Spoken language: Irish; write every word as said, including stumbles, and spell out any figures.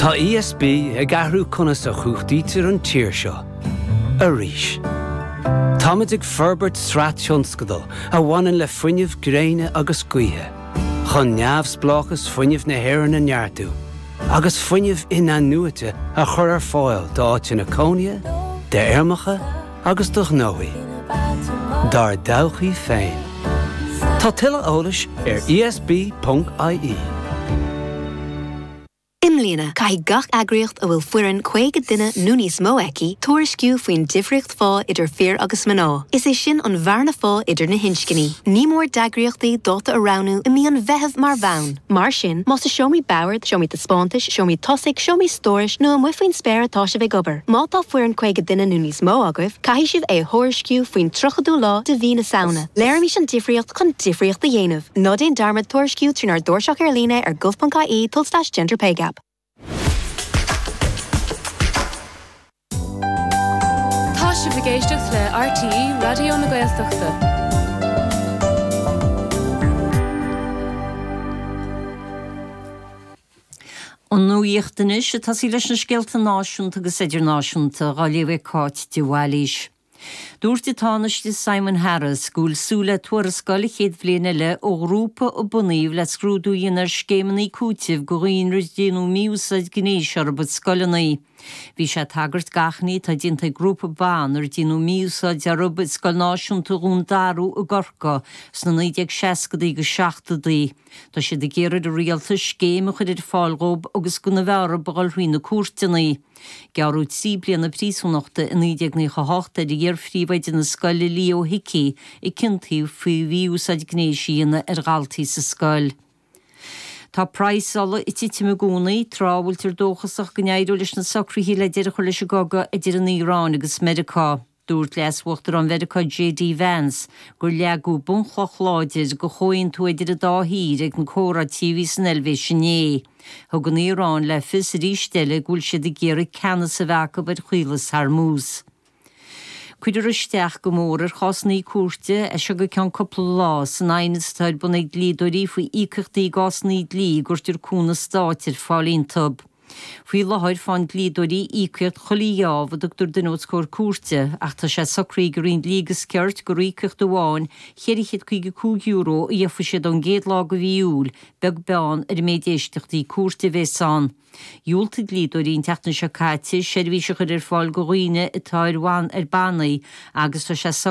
Tá ESB ag athrú conas a chumhachtaítear an tír seo. Arís. Táimid ag forbairt sraith tionscadal a bhaineann le fuinneamh gréine agus gaoithe, chun neamhspleáchas fuinnimh na hÉireann a neartú, agus fuinneamh in-athnuaite a chur ar fáil d'áiteanna cónaithe, d'fheirmeacha agus do ghnóthaí. Dár dtodhchaí féin. Tá tuilleadh eolais ar ESB.ie. I mbliana caithfidh gach eagraíocht a bhfuil foireann caoga duine nó níos mó aici tuairisciú faoin difríocht phá idir fir agus mná. Is é sin an bhearna phá idir na hinscní. Ní mór d'eagraíochtaí dáta a roghnú i mí an Mheithimh mar bhonn. Mar sin más i seomraí boird, seomraí taispeántais, seomraí tosaigh, seomraí stórais nó amuigh faoin spéir atá sibh ag obair. Má tá foireann caoga duine nó níos mó agaibh, caithfidh sibh é thuairisciú faoin tríochadú lá de mhí na Samhna. Léirímis an difríocht chun difríocht a dhéanamh. Ná déan dearmad tuairisciú trínár dtairseach ar líne ar gov.ie tulslais gender pay gap. Tá sibh ag éisteacht le RTÉ Raidió na Gaeltachta. An nuacht anois ag tosaí leis na scéalta náisiúnta agus idirnáisiúnta á léamh ag Cáit de Bhailís. Dúirt an Tánaiste Simon Harris go bhfuil súil le tuarascáil an chéad bhliain eile ó ghrúpa a bunaíodh le scrúdú a dhéanamh ar scéimeanna cúitimh do dhaoine ar déanadh mí-úsáid gnéis orthu i scoileanna. Bhí sé ag tagairt d'achainí atá déanta ag grúpa ban ar déanadh mí-úsáid orthu i Scoil Náisiúnta Dhún Darú i gCorcaigh sna naoi déag seascadaí agus seachtóidí. Tá siad ag iarraidh ar an rialtas scéim a chur ar fáil dhóibh agus gan a bheith orthu a dhul thrí na cúirteanna. Gearradh trí bliana príosúnachta i naoi déag nócha a hocht ar iar-phríomhoide na scoile Leo Hickey a ciontaíodh faoi mhí-úsáid gnéis a dhéanamh ar dhaltaí sa scoil. Tá praghas ola ag titim i gcónaí, tráth a bhfuiltear dóchasach go n-éireoidh leis na socruithe le deireadh a chur leis an gcogadh idir an Iaráin agus Meiriceá. Dúirt Leas-Uachtarán Mheiriceá JD Vance gur leagadh bunchloch láidir do chomhaontú idir an dá thír ag na comhráití a bhí san Eilvéis inné. Thug an Iaráin le fios arís eile go bhfuil siad ag iarraidh ceannas a bheith acu ar Chaolas Hormuz. Cuirfear isteach go mór ar chásanna cúirte as seo go ceann cúpla lá san aighneas atá ar bun ag dlíodóirí faoi íocaíochtaí i gcásanna dlí a gcuirtear cúnamh stáit ar fáil iontu. Faoi láthair faigheann dlíodóirí íocaíocht chuile gheábh a dtugtar duine os comhair cúirte ach tá sé socraithe ag an Roinn Dlí agus Cirt gur íocaíocht amháin cheithre chéad caoga cúig euro a gheofaidh siad ón gcéad lá de mhí Iúil, beag beann ar an méid éisteachtaí cúirte a bheas ann. Dhiúltaigh dlíodóirí an tseachtain seo caite seirbhís a chur ar fáil do dhaoine atá ar ar bannaí agus tá sé socraithe